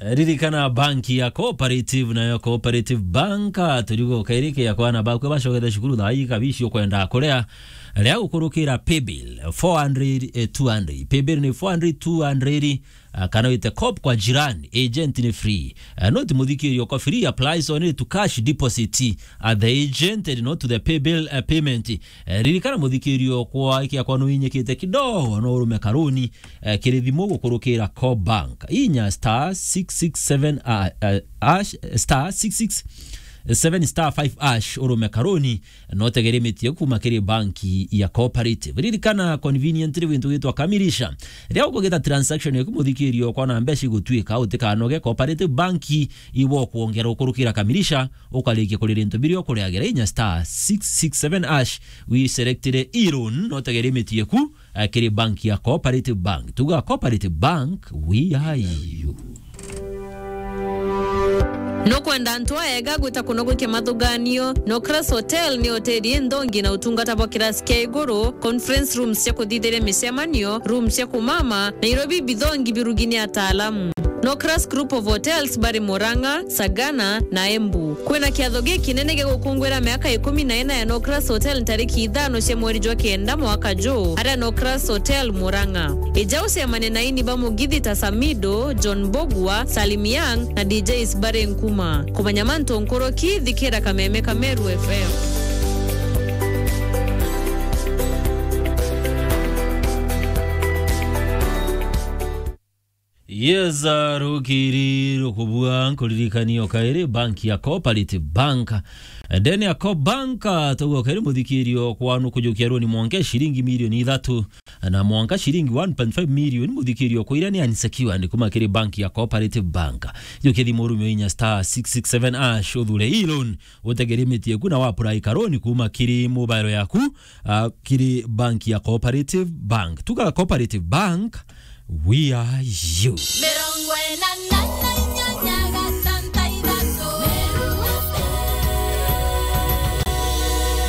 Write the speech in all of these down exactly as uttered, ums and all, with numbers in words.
Ririkana banki ya Cooperative, nayo Cooperative Bank, ah, turigo kairi ke ya kwana bakwe bacokete cukuru thaa ii kabici ukwenda kuria, ria gukurukira paybill four hundred, eh, two hundred. Paybill ni four hundred, two hundred, ah, kana wite cop kwa jirani, agent ni free. Ah, no ti muthikirio kwa free, applies only to cash deposit at the agent and not to the paybill, eh, payment. Eh, ririkana muthikirio kwa ikia kwa nuinyikite kidogo, no urume karuni, eh, kiri thimu gukurukira Co-bank. Inya star six six seven, ah, ah, hash, star six six seven star five hash urume karuni, no utegere mitie kuma kiri banki ya Cooperative. Ririkana conveniently wintu gitwa kamilisha. Ria ukugita transaction yaku muthikirio kwa na mbeca igutwika utikanoge Cooperative Bank ibo kuongera ukurukira kamilisha, ukarikia kurira into biria ukuriagira inya star six six seven hash, wiselectire e-loan, no utegere mitie ku, eh, kiri banki ya Cooperative Bank. Tuga Cooperative Bank, we are you. Nukwenda antu aega gwita kunogokia mathuganio? Nocras Hotel ni hoteli inthongi na utungata bwa kirasi kia iguru, conference rooms cia kuthithiria micemanio, rooms cia kumama, na irio bibithongi birugini ataalamu. Nocras Group of Hotels bari Murang'a, Sagana na Embu. Kwina kiatho gikinene gia gukungwira miaka ikumi na ina ya Nocras Hotel ntariki ithano cia mweri jwa kenda mwaka juu, aria Nocras Hotel Murang'a. Ija ucemane na aini ba mugithi ta Samido, John Mbugua, Salim Young na D Js bari Nkuma. Kumenya mantu nkuruki, thikira Kameme ka Meru F M. Yes, ah, rukiri rukubua nkuririkania o kairi banki ya Cooperative Bank. Ndene ya Co-bank, ah, tauga o kairi muthikirio kwanu kujukia roni mwanka ciringi milioni ithatu na mwanka ciringi one point five million muthikirio kwa iria ni unsecured kuma kiri banki ya Cooperative Bank. Jukia thimu urumio inya star six six seven hash uthure e-loan utegere mitie ku na wa apply karoni kuma kiri mobile yaku, ah, kiri banki ya Cooperative Bank. Tuga Cooperative Bank, we are you. Mirongo ina na inyanya gatanta ithatu.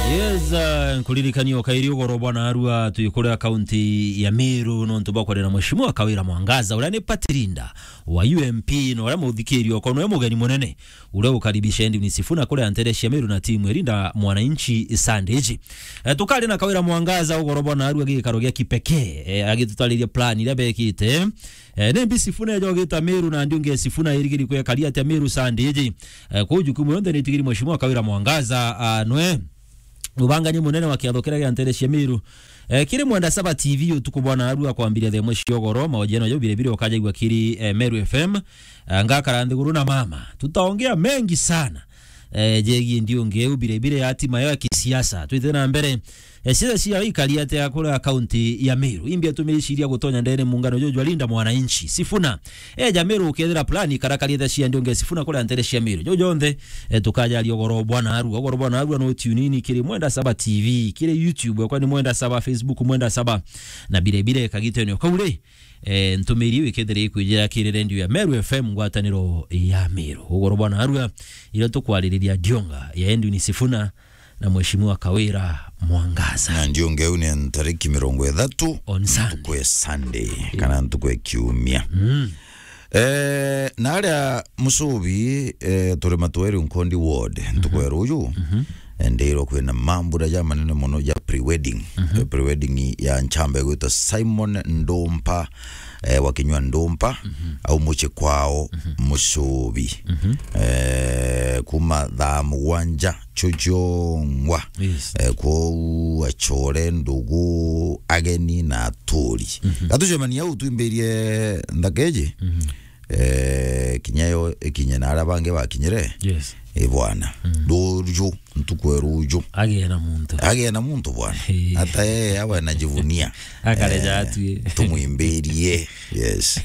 Yes, uh, nkuririkania o kairi ugoro bwa narua twi kuria kaunti ya Meru nontu bwa kwarira Mheshimiwa Kawira Mwangaza, uria ni party leader wa U M P, na uria muthikirio kono e mugeni munene uria ukaribisha Edwin Sifuna kuria ntere cia Meru na timu irinda mwananchi Sunday iji. Eh, tukari na Kawira Mwangaza ugoro bwa narua gikaro gia kipekee, eh, agitutariria plan iria bekite. Eh, ni mbi Sifuna ejogita Meru na ndiunge Sifuna irigiri kwekaria atia Meru Sunday iji. Eh, kuu jukumu yonthe ni itigiri Mheshimiwa Kawira Mwangaza, ah, nwe mubangania munene wa kiatho kiria gia ntere cia Meru. Eh, kiri Mwenda Saba T V utuku bwa narua kwambiria thaa imwe cia ugoro, mahojiano jau birebire ukajaigua kiri, eh, Meru F M. Eh, ngakara nthiguru na mama. Tutaongea mengi sana, eh, jegie ndiunge eu birebire ya hatima ya kisiasa. Twite na mbere, eh, siasa cia ikari atia kuria kaunti ya Meru. Imbi atumiciria gutonya ndene muungano juju jwa Linda Mwananchi. Sifuna eja Meru ukethira plan karakariete cia ndiunge Sifuna kuria ntere cia Meru. Juju jonthe, eh, tukajaria ugoro bwa narua. Ugoro bwa narua no tune in kiri Mwenda Saba T V, kiri YouTube, kwa ni Mwenda Saba, Facebook Mwenda Saba, na birebire kagitene o kau ri, eh, ntumiri iu ikethire ikwijira kiri redio ya Meru F M, ngwataniro ya Meru. Ugoro bwa narua, iria tukwaririria ndionga ya Edwin Sifuna na Mheshimiwa Kawira Mwangaza. Na ndiunge eu ni ntariki mirongo ithatu, on Sunday, ntuku ya Sunday, kana ntuku ya kiumia. Mm. Eh, na aria Musubi, eh, turi Matweri Nkondi Ward, ntuku ya ruju, eh, ndirwo kwina mambura ja manene mono ja pre-wedding. Eh, pre-wedding ya nchamba igwitwa Simon Ndumpa, eh, wa Kinyua Ndumpa, au muci kwao, Musubi. Eh, kuma thaa mugwanja chuchongwa. Yes. Eh, kwou achore, ndugu, ageni na aturi. Gatucemania au twimbirie nthaka iji. Eh, kinya yo ikinye na aria bangi bakinyire. Yes. Eh, bwana. Ruju, ntuku ya ruju. Agie na muntu. Agie na muntu, bwana. Eh. Ata yeye awe anajivunia. Akareja atue. Tumwimbirie. Yes.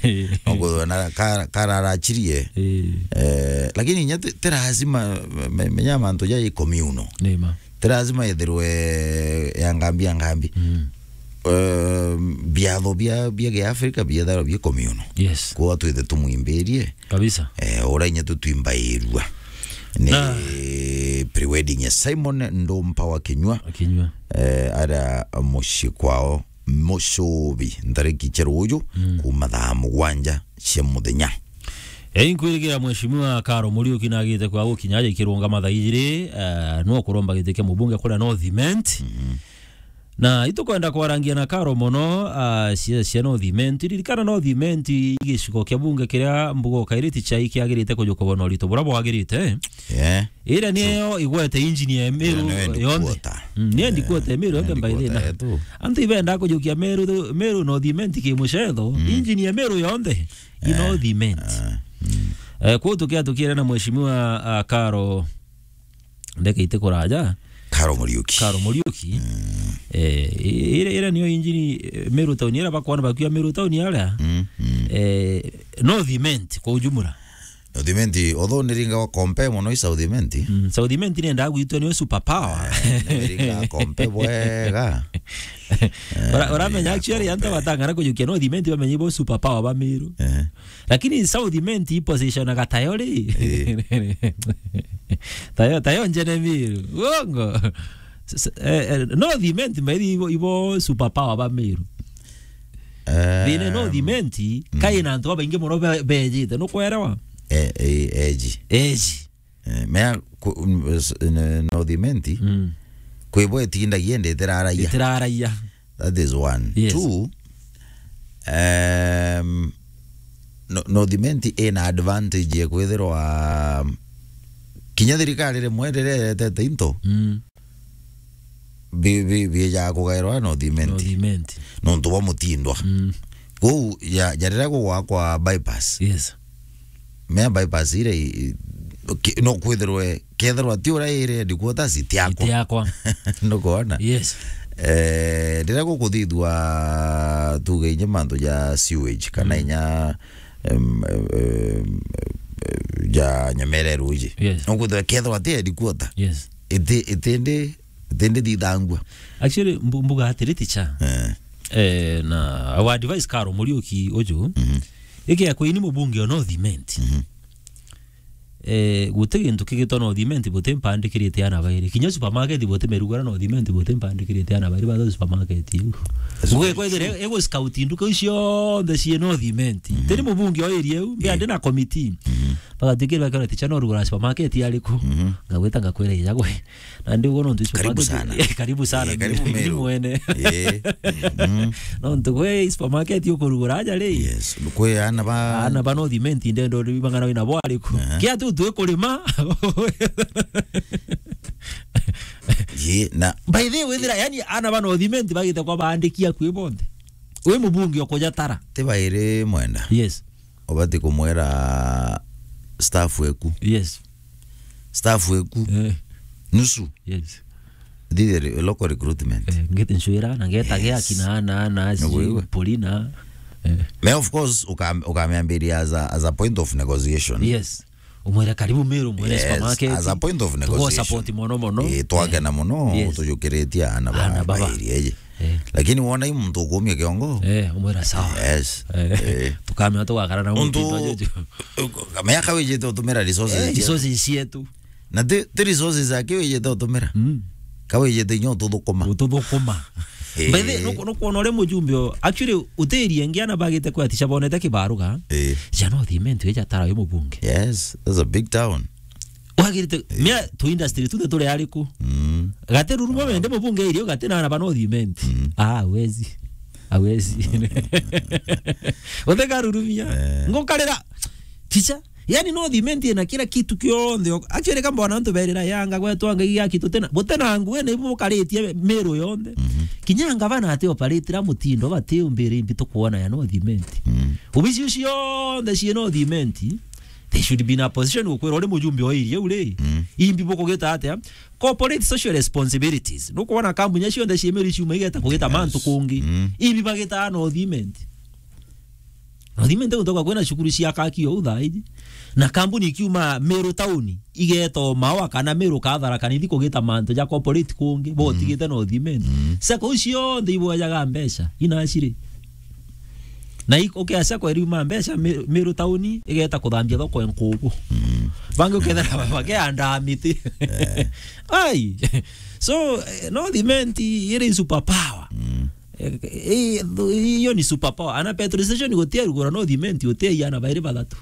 Ogo na ka-, kararachirie. Eh. Eh, lakini nya ti, ti lazima me-, menya mantu ja ikomiuno. Nima. Ti lazima ithirwe ya ngambi ya ngambi. Mm. Eh, biatho bia, bia Kiafrika bietharwa bia communal. Yes. Kwa twithe tumwimbirie. Kabisa. Eh, ura inya tutwimbairua. Ni pre-wedding ya Simon Ndumpa wa Kinyua. Wa Kinyua. Eh, ara mucii kwao Musubi, ntariki cia ruju, kuma thaa mugwanja cia muthenya. Ei, nkwirigira Mheshimiwa Karo Muriuki nagite kwa gukinya aja ikirungama thaa ijiri, eh, no kuromba giti kia mubunge kuria North Imenti. Mhm. Na itukwenda kwarangia na Karo mono, ah, cia, cia North Imenti. Ririkana North Imenti i gicigo kia bunge kiria mbuga ukairiti chai kiagirite kujuka bona urito buria bwagirite. Yeah. Iria niyo igwete injini ya Meru yonthe. Iria niyo headquarter. Mm, niyo headquarter ya Meru yonthe, by the way, headquarter yetu. Antu ibenda kujukia Meru, Meru North Imenti ki mucetho, mm, injini ya Meru yonthe i North Imenti. Eh, mm. Eh, kwou tukia tukiere na Mheshimiwa, ah, Karo, ndeke ite kuraja. Karo Muriuki. Karo Muriuki. Mm. Eh, i-, iria, iria niyo injini, eh, Meru Town, iria bakwana bakiuga Meru Town aria. Mm, mm. Eh, North Imenti kwa ujumla. North Imenti, although niringa wa compare mono i South Imenti. Mm, South Imenti nenda gwitwa niyo super power. Eh, niringa compare bwega. Eh, ora-, oramenya niringa actually antu compare. Batang'ara kujukia North Imenti bamenye bo super power ba Meru. Eh. Lakini South Imenti i position aga tayo ri. Eh. Tayo, tayo njene Meru. Uongo. S-, s-, eh, eh, North Imenti mbairi ibo, ibo super power ba Meru. Eh, thina North Imenti, mm, kai na antu babaingi mono be-, bejite, nukwelewa? Eh, eh, eji. Eji. Eh, mea ku-, mm, s-, n-, North Imenti, mm, kwi bo itindagia indi itiraraia. Itiraraia. That is one. Yes. Two, um, no-, North Imenti ina advantage ya kwithirwa kinya thirikari rimwe riria iretete into, mm, bi-, bi-, biijaga kugairwa North Imenti. North Imenti. Nontu bwa mutindwa. Mm. Kwou, ja-, ja riria gugwakwa bypass. Yes. Mea bypass iria i-, i-, ki-, no kwithirwe, kethirwa ti uria iri headquarters, itiakwa. Itiakwa. Nukwona? Yes. Eh, riria gukuthithua tuge inya mantu ja sewage, kana, mm, inya, em, em, em, ja nyamere ruji. Yes. No kwithirwa kethirwa ti headquarter. Yes. Iti-, itindi, itindi thithangua. Actually, mbu-, mbuga atiri ticha. Eh. Eh, na our advice Karo Muriuki uju. Mhm. Iki akwa ini mubunge o North Imenti. Mhm. Eh, guti gintu kigitwa North Imenti buti mpandikirite ana bairi. Kinya supermarket buti merugara North Imenti buti mpandikirite ana bairi ba supermarket iu. Supermarket. Ngugi kwethire ego scout nduka iu cionthe cie North Imenti. Mhm. Tiri mubunge o area iu, mbe, eh, ndi na committee. Mhm. Bagatikira bakara ticha no rugara supermarket ariku. Mhm. Ngagwita ngakwira ija gwe. Na ndi ugo nontu supermarket. Karibu sana. Eh, karibu sana. Eh, karibu Meru. Mwene. Eh. Mm. Nontu gwe supermarket ukurugura aja ri. Yes. Kwi ana ba, ana ba North Imenti ndendo ri bang'ana wina bo ariku. Aha. Kia tu twi kurima. Ye, na by the way, withira, yani, ana ba North Imenti bagite kwa baandikia kwi bonthe. Wi mubunge ukuja tara. Ti bairi mwenda. Yes. Ubati kumwira staff eku. Yes. Staff eku. Eh. Nusu. Yes. Thithe re-, local recruitment. Eh, ngete nchwira, na ngeta, yes, gea kina ana, ana, sijui, Polina. Eh. Me, of course, ukam-, ukamiambiria as a, as a point of negotiation. Yes. Umwire, "Karibu Meru, umwire, yes, supermarket. As a point of negotiation. Tugo support mono mono." Eh, twakena mono, yes, tujukiritie ana ba, ana baba, ba area iji. Eh. Lakini wona i muntu ukumia kiongo. Eh, umwira, "Sawa." Yes. Eh. Eh. Tukamenya tugakara na muntu, muntu ujuju. Kamenya kawijite utumira resources, eh, cietu. Resources cietu. Na ti, ti resources aki wijite utumira. Mm. Kawijite inya ututhukuma. Ututhukuma. Eh. By the way, nuku-, nukwona uria mujumbe o-, actually, utirie ngi ana bagite kwetisha bonete kibaruga. Eh. Cia North Imenti ija tara uyu mubunge. Yes, that's a big town. Wagirite, eh, mea tu industry tuthe turi ariku? Mm. Gati ruruma wende mubunge irio gati na ana ba North Imenti. Mm. Ah, hawezi. Hawezi. Utekarurumia. Eh. Ngukarira. Ticha. Yani North Imenti ina kila kitu kionthe. Actually, kamba wana antu berira yanga gwetwa ngai ya kitu tena. Butena ngwe na ibu mukaritie Meru yonthe. Mhm. Kinya ngavana ati operate ra mutindo bati umbire imbi tukwona ya North Imenti. Mm. Obici ucio cionthe cie North Imenti. They should be in a position gukwira uri mujumbe wa iria uri. Mm. Imbi bukugita atia? Corporate social responsibilities. Nukwona kambuni cionthe cie Meru ciuma igeta kugita, yes, mantu kungi. Mm. Imbi bagita North Imenti. North Imenti gutoka kwina cukuru cia kaki o uthaiji. Na kambuni ikiuma Meru town, igeta o Maua kana Meru Kathara kana ithi kugita mantu ja corporate kungi, botigite North Imenti. Mm. Sacco icio cionthe ibojaga mbeca, inaciri. Na i-, ukea sacco iriuma mbeca, Mi-, Meru town igeta kuthambia thoko enkubu. Mm. Bangi ukethera bakeandaa miti. Eh. Ai. So, eh, North Imenti iri super power. Mm. Eh, eh, iyo ni super power. Ana petrol station gutia rugura North Imenti gutia iana bairi bathatu.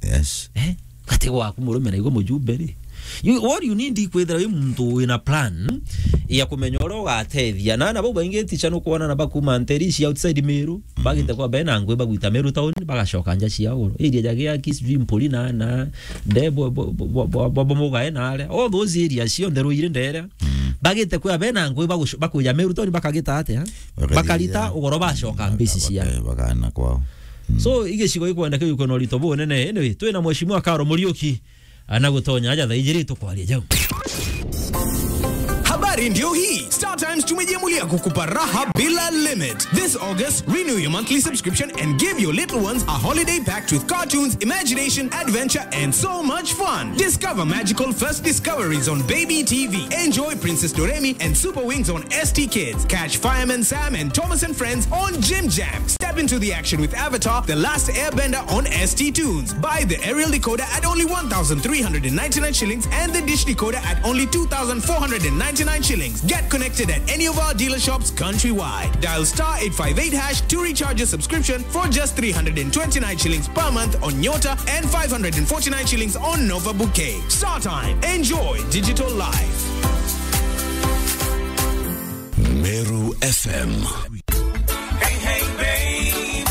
Yes. Eh? Gati gwaku murume na igwe mujumbe ri. You, what you need ikwithira wi muntu wina plan ya kumenya uria ugatethia. Na na bau baingi ticha nukwona na bakuma nteri cia outside Meru, bagite kwa bena ngwe bagwita Meru town, bagacoka nja cia uru. Area ja Giaki, sijui Mpuri na, na, de, bo, bo, bo, bo, bo, bo, Mugae na aria. All those areas cionthe Ruiri ndere. Bagite kwa bena ngwe bagush-, bakuja Meru town bakagita atia? Bakarita ugoro bacoka mbisi cia. Baka-, bakana kwao. So, igicigo ikwendeka ikwina urito bunene. Anyway, twina Mheshimiwa Karo Muriuki, ana gutonya aja thaa ijiri tukwaria jau. Habari ndio hii. Star Times tumejiamulia kukupa raha bila limit. This August, renew your monthly subscription and give your little ones a holiday packed with cartoons, imagination, adventure, and so much fun. Discover magical first discoveries on Baby T V. Enjoy Princess Doremi and Super Wings on S T Kids. Catch Fireman Sam and Thomas and Friends on Jim Jam. Step into the action with Avatar, The Last Airbender on S T Tunes. Buy the aerial decoder at only one thousand three hundred and ninety-nine shillings and the dish decoder at only two thousand four hundred and ninety-nine shillings. Get connected at any of our dealer shops countrywide. Dial star eight five eight hash to recharge your subscription for just three hundred and twenty-nine shillings per month on Nyota and five hundred and forty-nine shillings on Nova Bouquet. Star Time. Enjoy digital life. Meru F M. Hey, hey, baby.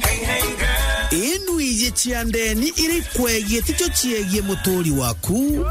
Hey, hey, girl. Inu iji cia ndeni iri kwegie ticio ciegie muturi waku.